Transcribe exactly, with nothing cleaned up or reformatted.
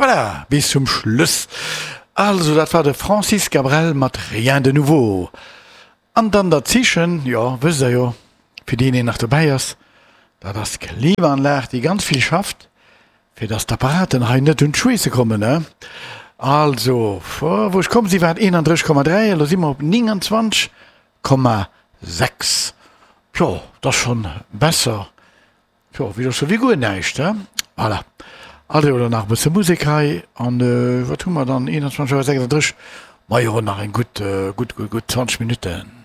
Voilà, bis zum Schluss. Also, dat war de Francis Cabrel mat Rien de nouveau. An dann dat Zeechen, jo, wësst der jo, fir deen een nach dobäi ass, dat ass d'Klimaanlag, déi ganz vill schafft, fir dass d'Apparaten hei net un d'Schweesse kommen, ne? Also, wou ech komm si war et eenandrësseg Komma dräi, elo si mer op nénganzwanzeg Komma sechs. Jo, dat ass schonn besser, jo, wéi sou wéi guer näischt, he? Voilà. Also, elo nach e bësse Musek hei an wat hu mer dann, eenanzwanzeg Auer sechsandrësseg, majo, nach eng gutt, gutt, gutt, gutt zwanzeg Minutten.